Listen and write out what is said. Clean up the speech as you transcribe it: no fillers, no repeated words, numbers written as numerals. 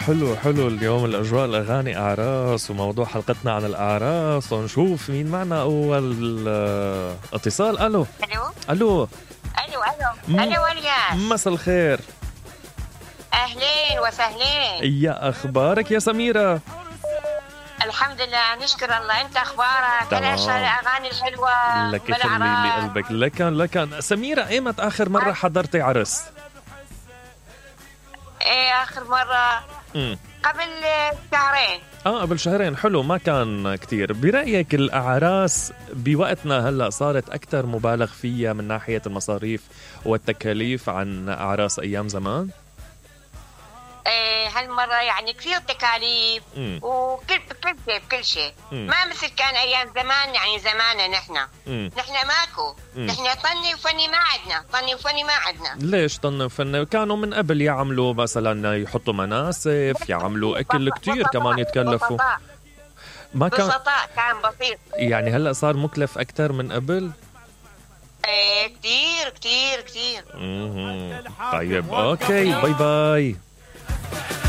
حلو حلو اليوم الأجواء الأغاني أعراس وموضوع حلقتنا عن الأعراس، ونشوف مين معنا أول اتصال. ألو الو ألو. الو الو الو الياس، مساء الخير. اهلين وسهلين. يا أخبارك يا سميرة؟ الحمد لله نشكر الله. انت اخبارك؟ تمام. ايش الاغاني الحلوه لك اللي قلبك. لكن سميرة، ايمت آخر مرة حضرتي عرس؟ ايه اخر مره قبل شهرين. قبل شهرين. حلو، ما كان كتير. برأيك الأعراس بوقتنا هلأ صارت أكتر مبالغ فيها من ناحية المصاريف والتكاليف عن أعراس أيام زمان؟ ايه هالمره يعني كثير تكاليف وكل شيء ما مثل كان ايام زمان. يعني زماننا نحن ماكو. نحن طني وفني ما عندنا. ليش طن وفن؟ كانوا من قبل يعملوا مثلا يحطوا مناسف، يعملوا أكل كتير، كمان يتكلفوا. ما كان بسطاء، كان بسيط. يعني هلأ صار مكلف أكتر من قبل؟ ايه كتير. طيب اوكي، باي باي.